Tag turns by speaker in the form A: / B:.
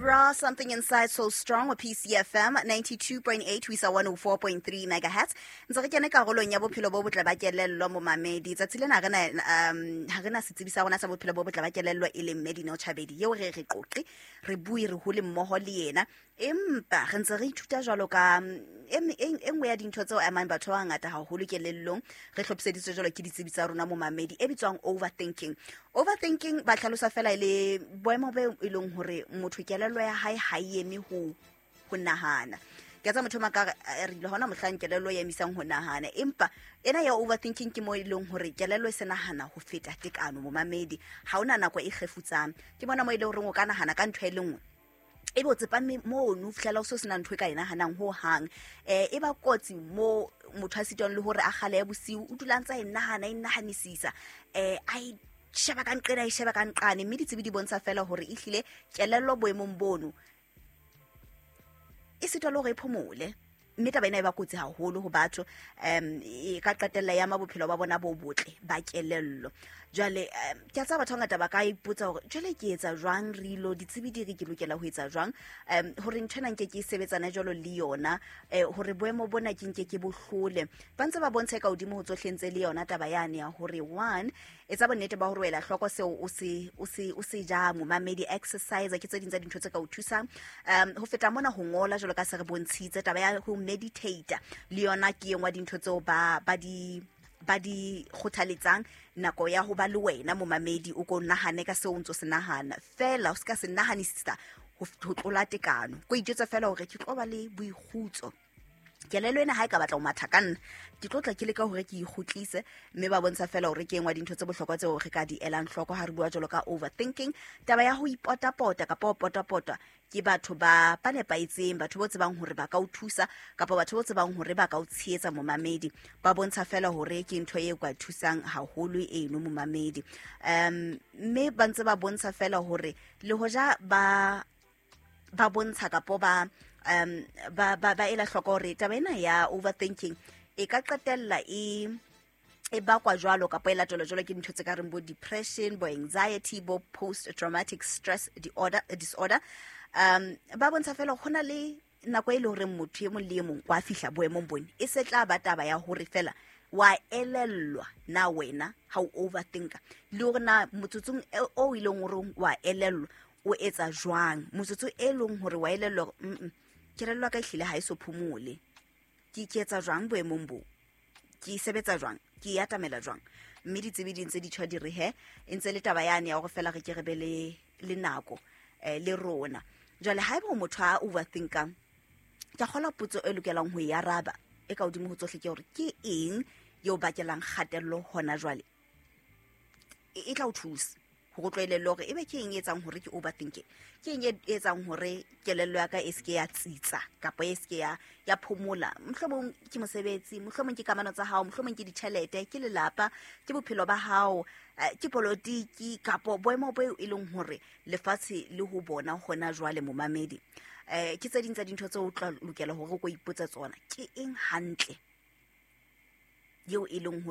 A: Raw, Something Inside So Strong wa PCFM 92.8 ho isa 104.3 megahertz. Ntse re kene karolong ya bophelo bo botle ba kelello, momamedi. Tsatsi lena ha re na setsebi sa rona sa bophelo bo botle ba kelello, e leng Medino Chabedi, eo re re qoqe, re bue, re hole mmoho le yena, empa re ntse re ithuta jwalo ka e nngwe ya dintho tseo amang batho ba bangata haholo kelellong. Re hlophiseditswe jwalo ke ditsebi tsa rona, momamedi, e bitswang overthinking. Overthinking ba hlalosa fela e le boemo bo e leng hore motho kelello ya hae ha e eme ho nahana. Ke tsa motho maka re ile hona mohlang kelello e emisang ho nahana, empa ena ya overthinking ke mo e leng hore kelello e se nahana ho feta tekano, momamedi. Ha hona nako e kgefutsang. Ke bona mo e leng hore o ka nahana ka ntho e le nngwe, ebe o tsepame mono ho fihlela o se o sena ntho e ka e nahanang ho hang. E ba kotsi mo motho a sitwang le hore a kgale ya bosiu, o dula ntse a e nahana, e nahanisisa, a e sheba ka nqena, e sheba ka nqane. Mme ditsebi di bontsha fela hore ehlile kelello boemong bono e sitwa le hore e phomole, mme taba ena e ba kotsi haholo ho batho. E ka qetella ya ma bophelo ba bona bo botle ba kelello. Jwale ke a tseba batho ba bangata ba ka ipotsa hore jwale ke etsa jwang rilo, ditsebi di re ke lokela ho etsa jwang hore ntho ena nke ke e sebetsana jwalo le yona, hore boemo bona ke nke ke bohlole. Ba ntse ba bontsha ka hodimo ho tsohle ntse le yona taba yane ya hore one, etsa bonnete ba hore o ela hloko seo o se jang, momamedi. Exercise ke tse ding tsa dintho tse ka o thusang. Ho feta mona, ho ngola jwalo ka se re bontshitse, taba ya ho meditate le yona ke e nngwe ya dintho tseo ba di kgothaletsang. Nako ya ho ba le wena, momamedi, o ko nahane ka seo o ntso se nahana fela, o se ka se nahanisisa ho tlola tekano. Ko ijwetsa fela hore ke tlo ba le boikgutso, kelello ena ha e ka batla ho matha ka nna, ke tlo tla ke leka hore ke ikgutlise. Mme ba bontsha fela hore ke engwe dintho tse bohlokwa tseo re ka di elang hloko ha re bua jwalo ka overthinking. Taba ya ho ipotapota kapa ho potapota ke batho ba nepahetseng, batho bo tsebang hore ba ka o thusa kapa batho bo tsebang hore ba ka o tshehetsa, momamedi, ba bontsha fela hore ke ntho e ka thusang haholo eno, momamedi. Mme ba ntse ba bontsha fela hore le hoja ba bontsha kapo ba ela hloko hore taba ena ya overthinking e ka qetella e bakwa jwalo kapa e latelwa jwalo ke dintho tse ka reng bo depression, bo anxiety, bo post traumatic stress disorder. Ba bontsha fela go na le nako e le horeng motho e mong le e mong wa fihla boemong bone, e se tla ba taba ya hore fela wa elellwa na wena ha o overthinka, le hore na motsotsong o e leng hore wa elellwa o etsa jwang, motsotso e leng hore wa elellwa hore kelello ya ka ehlile ha e so phomole, ke etsa jwang boemong bo, ke sebetsa jwang, ke e atamela jwang. Mme ditsebi di ntse di tjho di re he e ntse le taba yane ya hore fela re ke re be le nako le rona. Jwale haeba o motho a overthinkang, ke a kgolwa potso e lokelang ho e araba e ka hodimo ho tsohle ke hore ke eng eo bakelang kgatello hona jwale. E tla o thusa hore o tlwaelelle hore ebe ke eng e etsang hore ke overthinking, ke eng e etsang hore kelello ya ka e seke ya tsitsa kapa e seke ya phomola. Mohlomong ke mosebetsi, mohlomong ke kamano tsa hao, mohlomong ke ditjhelete, ke lelapa, ke bophelo ba hao, ke politiki kapo boemo bo e leng hore lefatshe le ho bona hona jwale, momamedi. Ke tse ding tsa dintho tseo o tla lokela hore o ko ipotsa tsona, ke eng hantle eo e leng hore